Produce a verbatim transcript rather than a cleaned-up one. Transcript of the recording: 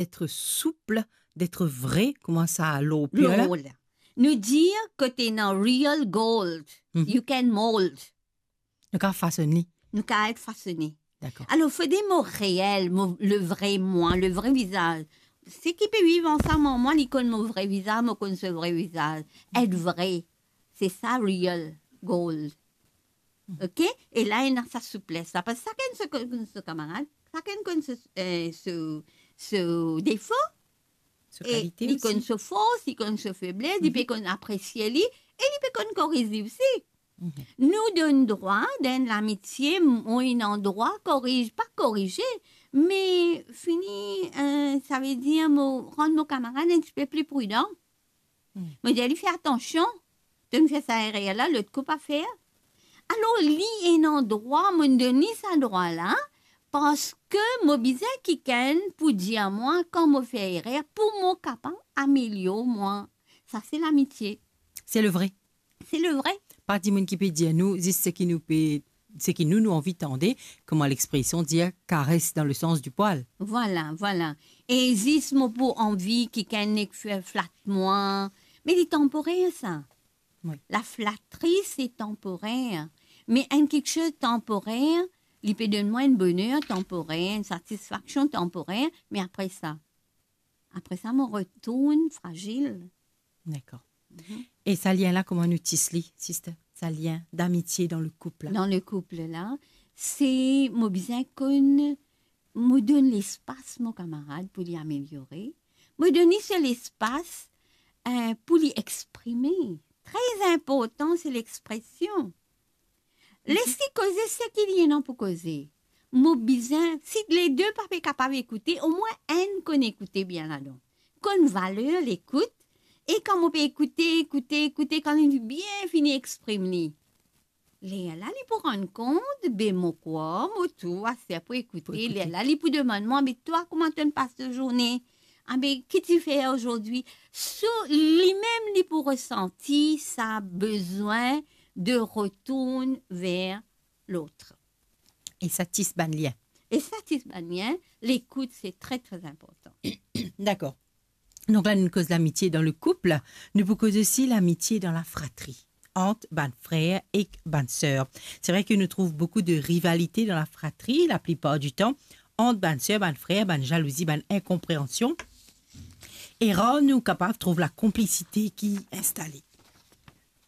d'être souple, d'être vrai, kouma sa lor pie la? Lor la. Nou dir kot ena real gold, Mhm. you can mold. Nou kapav fasone. Nou kapav fasone. Dakor. Alor, fode mo reel, mo, le vre mwa, le vre vizaz. Seki pe viv ansam ar mwa, li konn mo vre vizaz, mo konn so vre vizaz. Et vre, se sa real gold. Ok? E la, ena sa souples la. Parski sakenn so, konn so kamarad, sakenn konn so, eh, so, so defo. So e kalite li osi. Konn so fors, li konn so febles, li pe Mhm. konn apresie li, e li pe konn koriz li osi. Mhm. Nou donn drwa, dan lamitie, mo ena drwa koriz, pa korize, me fini, eh, savedir mo rann mo kamarad enn tipe pli pridan. Hmm. Mo dir li, fer atansion, to'nn fer sa erer la, lot kou pa fer. Alor, li ena drwa, mo donn li sa drwa la, parski mo bizin kikenn pou dir mwa kan mo fer erer, pou mo kapav amelior mwa. Sa se lamitie. Se le vre. Se le vre. Pa dimoun ki pe dir nou zis seki nou pe, seki nou, nou anvi tande, kouma lexpresion dir, kares dan le sans di pwal. Vwala, vwala. E zis mo pou anvi kikenn nek fer flat mwa, me li tanporer sa. Wi. Laflatri, se tanporer. Me enn kiksoz tanporer, li pe donn mwa enn boner tanporer, enn satisfaksion tanporer, me apre sa, apre sa, mo retourn frazil. Dakor. Mhm. E sa lien la, kouma nou tis li, sister? Sa lien d'amitie dan le koup la? Dan le koup la, se mo bizin konn, mo donn lespas mo kamarad pou li ameliore. Mo donn li se lespas, eh, pou li exprime. Tre inportan, se lexpresion. Les li koze seki li ena pou koze. Mo bizin, si le de pa pe kapav ekoute, omwin enn konn ekoute bien ladan. Konn valer lekout, e kan mo pe ekoute, ekoute, ekoute, kan li bien fini exprim li, lerla li pou rann kont, be mo krwar, mo tou aster pou ekoute, pou ekoute. Lerla li pou demann mwa, be twa, kouma to'nn pas to zourne? Abe, ki ti fer azordi? So, limem li pou resanti sa bezwin de retourn ver lot. E sa tis bann lien. E sa tis bann lien, lekout, se tre, tre inportan. Dakor. Donk la, nou koz lamitie dan le koup, nou pou koz osi lamitie dan lafratri, ant bann frer ek bann ser. Se vre ke nou trouv boukou de rivalite dan lafratri, laplipar di tan, ant bann ser, bann frer, bann zalouzi, bann inkonpreansion. E rar nou kapav trouv lakonplisite ki instale.